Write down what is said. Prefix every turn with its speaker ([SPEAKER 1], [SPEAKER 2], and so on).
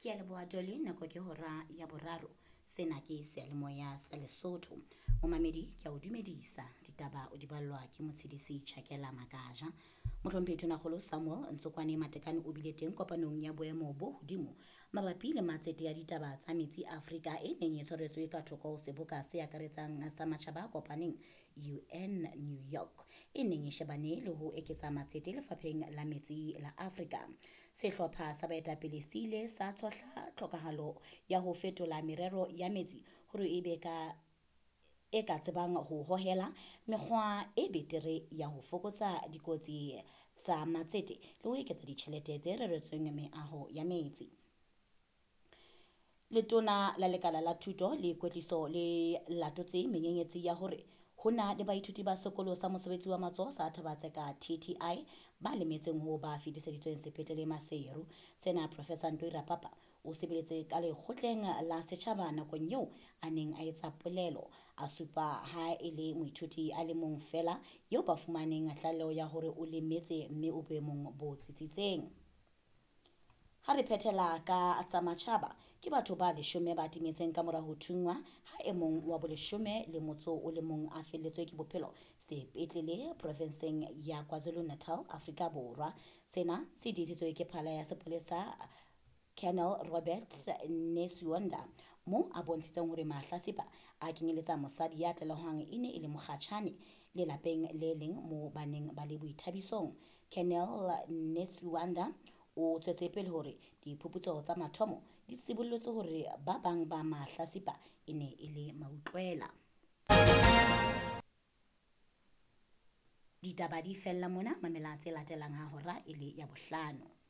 [SPEAKER 1] Ke a leboha Dolly, nako ke hora ya boraro. Sena ke seyalemoya sa Lesotho. Momamedi ke a o dumedisa, ditaba o di ballwa ke Motshedisi Chakela Makaja. Mohlomphehi Tonakgolo Samuel Ntsokwane Matekane o bile teng kopanong ya boemo bo hodimo mabapi le matsete ya ditaba tsa metsi Afrika e neng e tshwaretswe ka thoko ho seboka se akaretsang sa matjhaba a kopaneng UN New York e neng e shebane le ho eketsa matsete lefapheng la metsi la Afrika. Sehlopha sa baetapele se ile sa tshohla tlhokahalo ya ho fetola merero ya metsi hore e be ka e ka tsebang ho hohela mekgwa e betere ya ho fokotsa dikotsi tsa matsete le ho eketsa ditjhelete tse reretsweng meaho ya metsi. Letona la lekala la thuto le kwetliso le latotse menyenyetsi ya hore ho na le baithuti ba sekolo sa mosebetsi wa matsoho sa Thabatseka TTI ba lemetseng ho ba fetiseditsweng sepetlele Maseru. Sena Professor Ntoi Rapapa o sebeletse ka lekgotleng la setjhaba nakong eo a neng a etsa polelo, a supa ha e le moithuti a le mong feela eo ba fumaneng tlaleho ya hore o lemetse mme o boemong bo tsitsitseng. Ha re phethela ka tsa matjhaba, ke batho ba leshome ba timetseng ka mora ho thunngwa ha e mong wa boleshome le motso o le mong a felletswe ke bophelo sepetlele provinseng ya KwaZulu-Natal, Afrika Borwa. Sena se tiisitswe ke phala ya sepolesa Colonel Robert Netshiunda mo a bontshitseng hore mahlasipa a kenyeletsa mosadi ya tlalehwang e ne e le mokgatjhane le lapeng le leng mo ba neng ba le boithabisong. Colonel Netshiunda o tswetse pele hore diphuputso tsa mathomo di sibollotse hore ba bang ba mahlasipa e ne e le mautlwela. Ditaba di fella mona, mamela tse latelang ha hora e le ya bohlano.